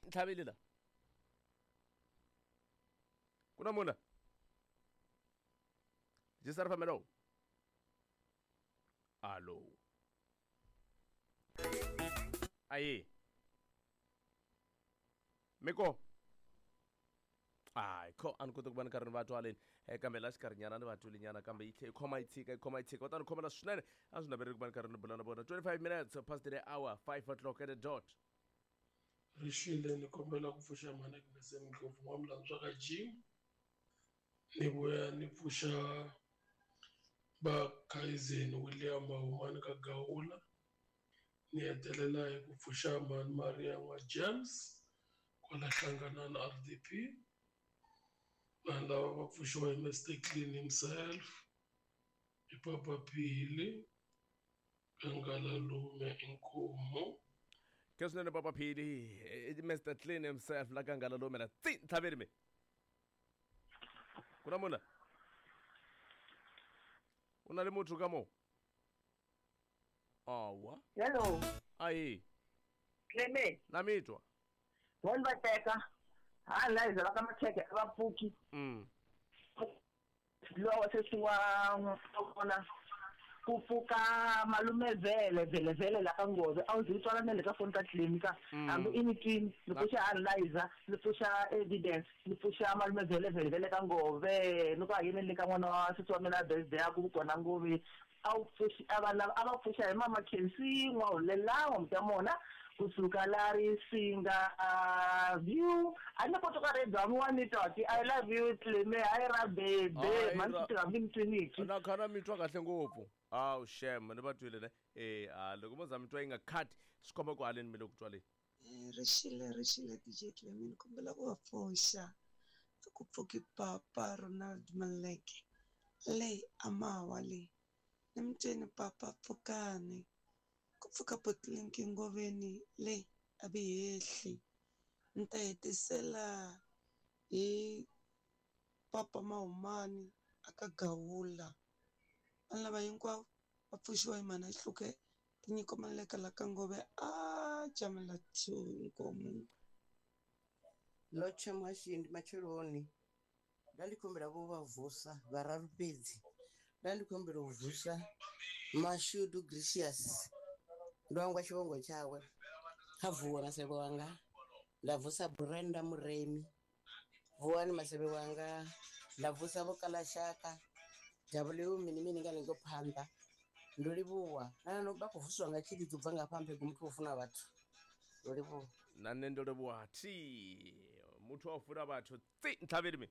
ntlhaveli la. Ku na munhu la? Jisa ri famelo. Alo. Ayi. Miko. Hayi kho a ni koti ku va ni karhi ni va twa leni kambe la xikarhinyana ni va twile kambe yi tlhe yi khoma yi tshika yi khoma yi tshika va ta ni khomela swinene a swi naveleli ku va ni karhi ni bula na vona 25 minutes past the hour 5 o'clock at the dot. Rixile ni kombela ku pfuxa mhani Agnes Ndlovu n'wamilandzwa ka Jim ni vuya ni pfuxa va Kaizen William Mahumani ka Gawula ni hetelela hi ku pfuxa mhani Maria n'wa James kwala Hlanganani RDP vanhu lava va pfuxiwa hi Mr Clean himself hi Papa Phili Kangalalume Inkomu. Ke swinene Papa Phili Mr Clean himself la Kangalalume la tsi ntlhaveli mi ku na munhu la u na le motho ka mo awa. Hello. Ayi. Clement. Na mi twa. Vona va teka ha la hi zala ka macheke a va pfuki. Lowa sesi wa kona ku pfuka malume vele vele vele la ka ngove a wu zi twala na le ka foni ka clinic hambi i ni twini ni pfuxa analyzer ni pfuxa evidence ni pfuxa malume vele vele vele ka ngove ni ku a yini le ka n'wana wa sesi wa mina birthday ya ku kona ngove a wu pfuxi a va lava a va pfuxa hi mama Khensi n'wahulelawa mutamona kusuka la Risinga view a ni koti ka radio hambi wa ni twa ti I love you Cleme hayi ra bebe mani swi tirha hambi ni twiniki na khana mi twa kahle ngopfu awu shem ni va twile ne e a loko mo za mi twa yi nga cut swi komba ku haleni mi le ku twaleni. Rixile rixile DJ Cleme ni kombela ku va pfuxa a ku pfuki papa Ronald Maleke le a mawa le ni mi twini papa pfukani ku pfuka Botlinki Ngoveni le a vi hehli ni ta hetisela hi papa Mahumani a ka Gawula vanhu lava hinkwavo va pfuxiwa hi mhana Xihluke tinyiko Maleka la ka Ngove a jamela 2 inkomu. Lotsha muhashindi matsheloni nda ndi khombela vho vha vusa vhararu fhedzi nda ndi khombela u vusa Mashudu Gracious ndo hangwa tshivhongo tshawe kha vuwa masevhe wanga nda vusa Brenda Muremi vuwani masevhe wanga nda vusa vho Kalashaka W mini mini nga lengo phanḓa ndo livhuwa na no vha khou vuswa nga tshilidzi u bva nga hafha mphengu muthu wo funa vhathu ndo livhuwa na nṋe ndo livhuwa thi muthu wa u funa vhathu tsi ntlhaveli mi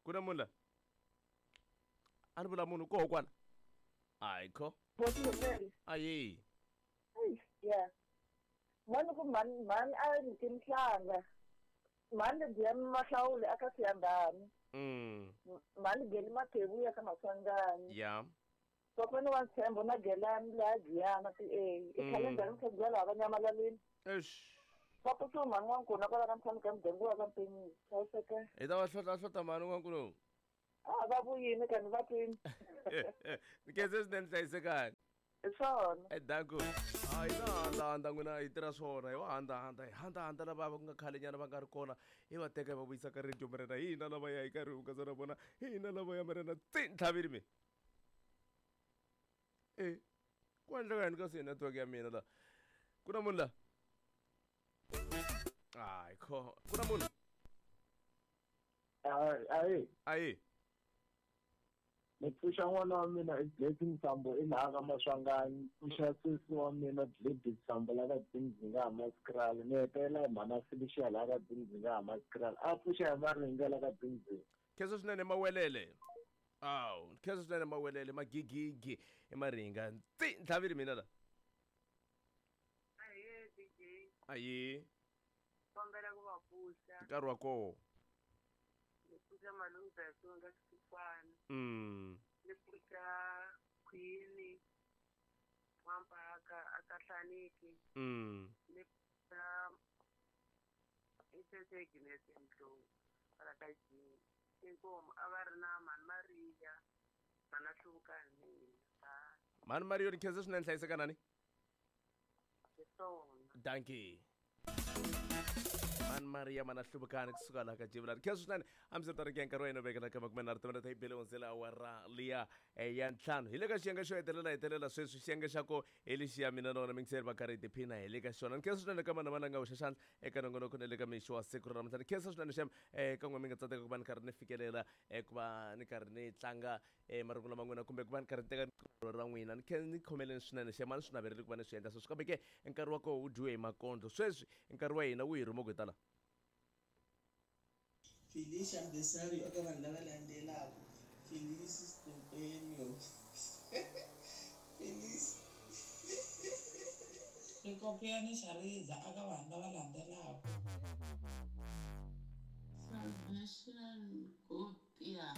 ku na munhu la a ni vula munhu koho kwala hayi kho ayi ya mani ku mani mani a ni nhlanga mani lebyiya mahlawuli aka siyandani mani geli mathevu ya ka Maswanganyi ya kokwana wa ntshembo na gelani laha Giyana ti a i khalendara mkhegula laha va nyamalaleni eish va pfuxiwa mhani n'wankuna kwala ka mtshami ka muganga wa ka Mpenyisi hlayiseka hi ta va hlotla hlota mhani n'wankuno a va vuyini kani va twini ni khense swinene hlayisekani hi swona edanku hayi na handahanda n'wina hi tirha swona hi wa handahanda hi handahanda lava va ku nga khalenyana va nga ri kona hi va teka hi va vuyisa ka radio morena hi hina lava ya hi karhi hungasa na vona hi hina lava ya morena tsi ntlhaveli mi e ku endleka yini ka si network ya mina la ku na munhu la hayi kho ku na munhu ayi ayi ni pfuxa n'wana wa mina i Blessing Sambo i laha ka Maswanganyi pfuxa sesi wa mina Gladys Sambo la ka Dzingdzinga Hammanskraal ni hetelela hi mhana Felicia laha ka Dzingdzinga Hammanskraal a pfuxa hi Maringa la ka Dzingdzinga khensa swinene mawelele awu khensa swinene mawelele magigigi i Maringa tsi ntlhaveli mina la Aye DJ ayi kombela ku va pfuxa nkarhi wa koho ni pfuxa malume Besonga Xikwana ni pfuxa Queen N'wampaka aka Hlaniki ni pfuxa Isese Agnes Ndlovu kwala ka Jim inkomu a va ri na mhani Maria mhana Hluvukani mina mhani Maria ni khensa swinene hlayisekanani hi swona dankie. Mani Maria mana hluvukani kusuka laha ka Jivulani. Khensa swinene a mi swi nkarhi wa hina vekela ka makume nharhu timinete yi bile hundzela awara liya ya ntlhanu. Hi le ka xiyenge xo hetelela hetelela sweswi xiyenge xa ko hi lexiya mina na wena mingiseri va karhi hi tiphina hi le ka xona. Ni khensa swinene ka vanhu lava nga hoxa xandla eka nongonoko na le ka mixo wa siku ra namuntlha. Ni khensa swinene xem ka n'we mi nga tsandzeka ku va ni karhi ni fikelela ku va ni karhi ni tlanga marungulo ma n'wina kumbe ku va ni karhi ni teka riqingho ra n'wina. Ni khe ni khomeleni swinene xem a ni swi naveleli ku va ni swi endla sweswi kambe ke nkarhi wa koho wu dyiwe hi makondlo. Sweswi nkarhi wa hina wu hi rhuma ku hi ta la. Felicia Mbesario eka vanhu lava landzelaka, Felice Stempenio, Felice Rikopiyani Shariza eka vanhu lava landzelaka. Salvation Gopia.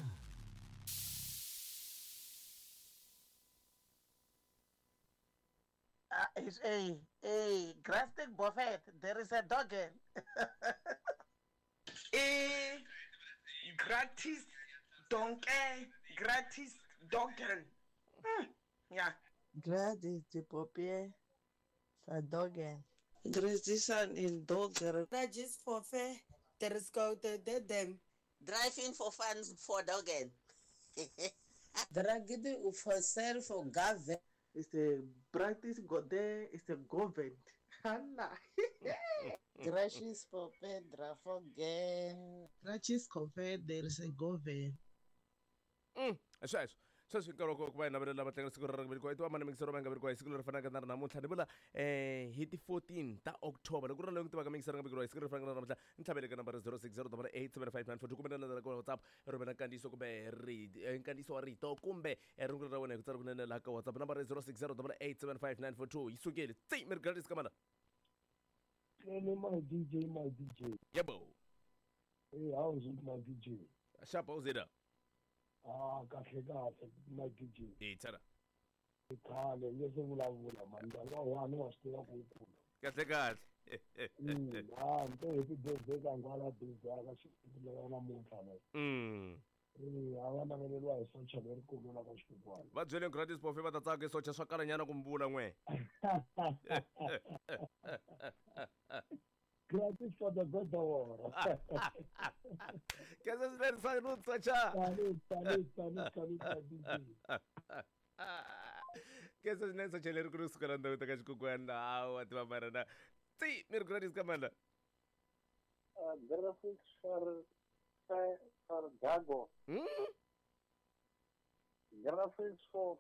Is a Grastic Buffet. There is a dog. I gratis donkey, gratis dogen. Yeah. Gladys Dipopie Sadogen. Gracisan in Doger. Rajis for fair. There is go to them. Driving for fun for dogen. Dragidi for sale for government. It's a practice go there. It's a government. Hannah. Gracious for Pedra for gang. Gracious convert. There is a government. Sweswo sweswi nkarhi wa ku va hi navelela vatlangi siku ra velekiwa i tiva mani mingisero va nga velekiwa hi siku leri fanaka na ri namuntlha ni vula hi ti 14 ta October loko ku ri na loyi ku tivaka mingisero nga velekiwa hi siku leri fanaka na ri namuntlha ni tlhavele ka nambara 0608875942 kumbe na landzela ka WhatsApp rhumela nkandziyiso kumbe nkandziyiso wa rito kumbe rungula ra wena hi ku tsala kunene laha ka WhatsApp nambara 0608875942 yi sukile tsi mi ri gratis ka mana. My DJ, my DJ. Yebo. Hey, how is it, my DJ? Sharp, how's it? Ah, kahle kahle, my DJ. Eh, tsara. Khale, ngeke vulavula man, ndanga wani wa swi tiva ku kula. Kahle kahle. Ah, nto happy birthday ka ngwala birthday ka xikulu namuntlha le. A va naveleriwa hi socha lerikulu la ka xikukwana. Va byele gratis bofe va ta tsaka socha swa kalanyana ku mbula n'we. Gratis for the better war. Kesa swinene salute socha. Salute, salute, salute, salute, DJ. Kesa swinene socha lerikulu kusuka la ndhawu ta ka xikukwana hawa tiva marana. Tsi mi ri gratis ka manda. Graphics for Dago. Graphics for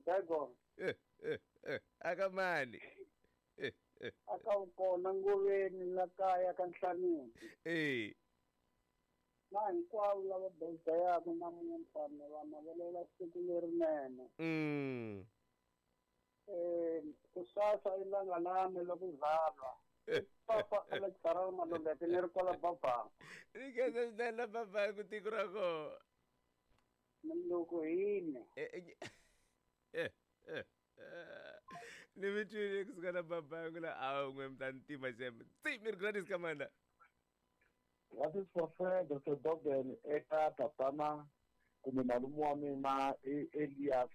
Dago. Akamani. Aka kona ngoveni la kaya ka Nhlaneni. Na hinkwavo lava birthday namuntlha ni va navelela siku lerinene. Kusasa i langalame loko zalwa. Papa Alexander Maluleke ni ri kwala Babanga. Ni khensa swinene la Babanga ku tiko ra kona. Loko hini. Ni mi twile kusuka la Babanga la a n'we mi ta ni tima xem. Tsi mi ri gratis ka manda. Gratis for fair Dr. Dogen eka tatana kumbe malume wa mina i Elias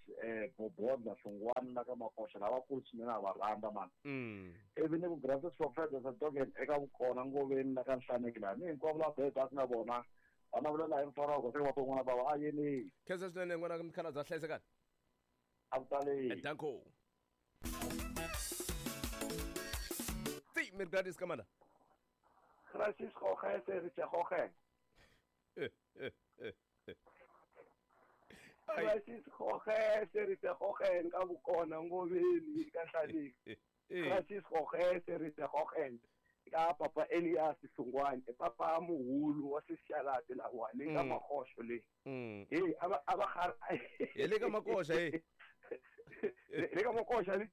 Bobodla Hlongwane la ka Makoxa lavakulu swinene a va rhandza mani. Ivi ni ku gratis for fair Dr. Dogen eka vukona ngoveni la ka Nhlaneki laha ni hinkwavo lava birthday na vona va navelela hi mfaroko se va n'wana bava a yeni. Khensa swinene n'wana mukhalabye hlayisekani. A ku tali. Danko. Tsi mi ri gratis ka manda. Gratis goge se re tse goge. Gratis goge se re tse goge ka bokona ngoveni ka Nhlaneki. Gratis goge se re tse goge ka papa Elias Hlongwane papa muhulu wa sixalati la wa le ka Makoxo le. Hey aba khara le ka Makoxa hey. Le ka Makoxa le.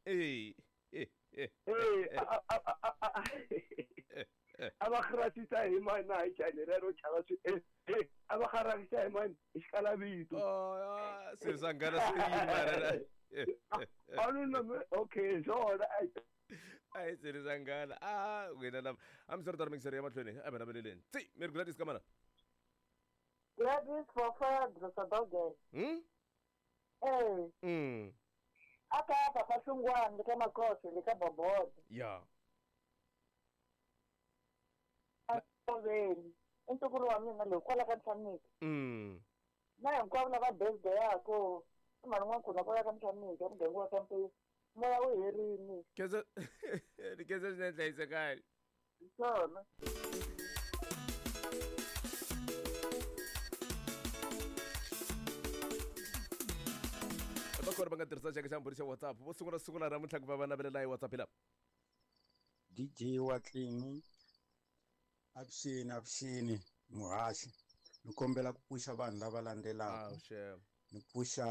A va kharatisa hi mani na hi chani rero chava swi a va kharatisa hi mani hi xikalavito. Se swa nghana swi yima ra. Okay swona a hi se swa nghana a wena lava a mi swi ri mixer ya mahlweni a va naveleleni. Tsi mi ri Gladys ka mana. Gladys for fair Dr. Dogen. Aka papa Hlongwane le ka Makoxo le ka Bobodo. Ya. Ngoveni i ntukulu wa mina loyi kwala ka Ntlhamika. Na hinkwavo lava birthday yako i mhani n'wankuna kwala ka Ntlhamika muganga wa ka Mpisi moya wu herini. Khensa ni khensa swinene hlayisekani. Hi swona. Va kona va nga tirhisa xaka xa mbhuri xa WhatsApp vo sungula sungula namuntlha ku va va navelela hi WhatsApp hi lava. DJ Watlini avuxeni avuxeni muhaxi ni kombela ku pfuxa vanhu lava landzelaka ni pfuxa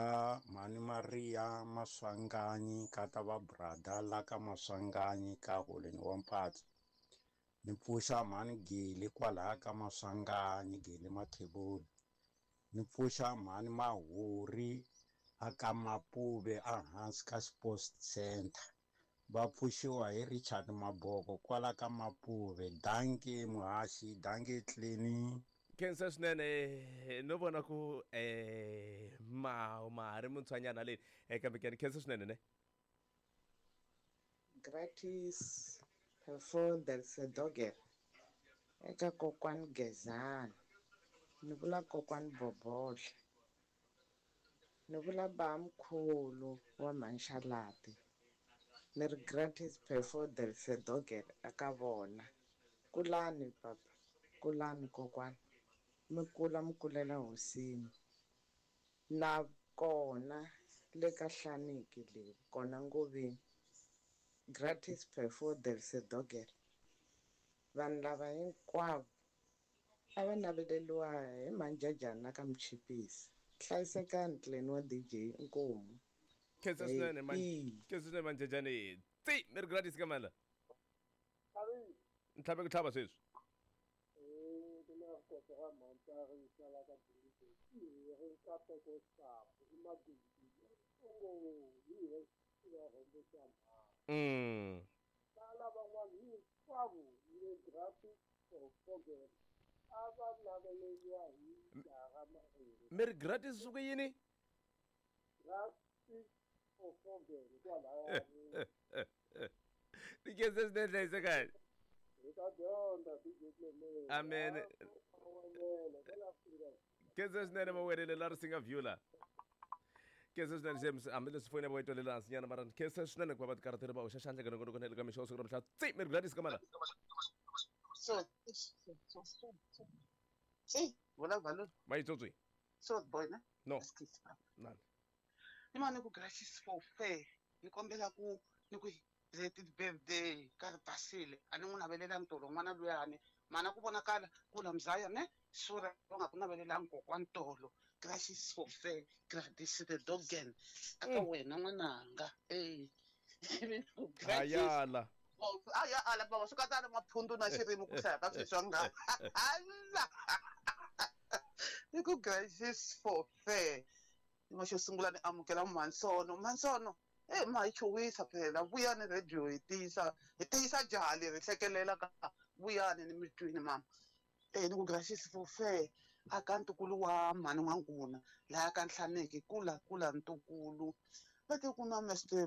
mhani Maria Maswanganyi kata va brother la ka Maswanganyi ka holeni wa Mpatsi ni pfuxa mhani Geli kwalaya ka Maswanganyi Geli Mathebula ni pfuxa mhani Mahuri a ka Mapuve a hansi ka Sports Center va pfuxiwa hi Richard Maboko kwala ka Mapuve dankie muhaxi dankie Tleni. Khensa swinene no vona ku ma ma ha ri muntshwanyana leni kambe ke ni khensa swinene ne. Gratis Perfordersedoger eka kokwani Gezani ni vula kokwani Bobodla ni vula bamkhulu wa Mhanxalati ni ri gratis Perfordersedoger eka vona kulani papa kulani kokwani mi kula mi kulela hosini na kona le ka Hlaniki leyi kona Ngoveni gratis Perfordersedoger vanhu lava hinkwavo a va naveleriwa hi manjajana ka Mchipisi hlayisekani Clan wa DJ inkomu. Khensa swinene man khensa swinene manjajani tsi mi ri gratis ka mani la ntlhabe ku tlhava sweswi. Mi ri gratis swi ku yini? Ni khensa swinene hlayisekani. Amen. Khensa swinene mawelele la ri singa view la. Khensa swinene James hambileswi foyini ya vo yi twelela hansi nyana mara khensa swinene ku va va tikarhatele va hoxa xandla ka nongonoko na le ka mixo wa siku ra mhla tsi mi ri gratis ka mani la. So, so, so, so. See, vula valo. Mayitsotsi. So boy ne? No. Nani. Ni mane ku gratis for fair. Ni kombela ku ni ku happy birthday ka ri basile. A ni n'wi navelela ntolo n'wana luyani. Mana ku vonakala ku la mzaya ne? Sura va nga ku navelela kokwani tolo. Gratis for fair. Gratis the dogen. Aka wena n'wananga. Eh. Ayala. Aya ala baba swi katsa na maphundu na xirimi ku hlaya ka sweswi nga. Ala. Ni ku gratis for fair. Ni xo sungula ni amukela Mansono. Mansono ma hi chuwisa phela vuyani radio hi tiyisa jaha leri hlekelela ka vuyani ni mitwini mama. Ni ku gratis for fair aka ntukulu wa mhani n'wankuna laha ka Nhlaneki kula kula ntukulu va te ku na Mr.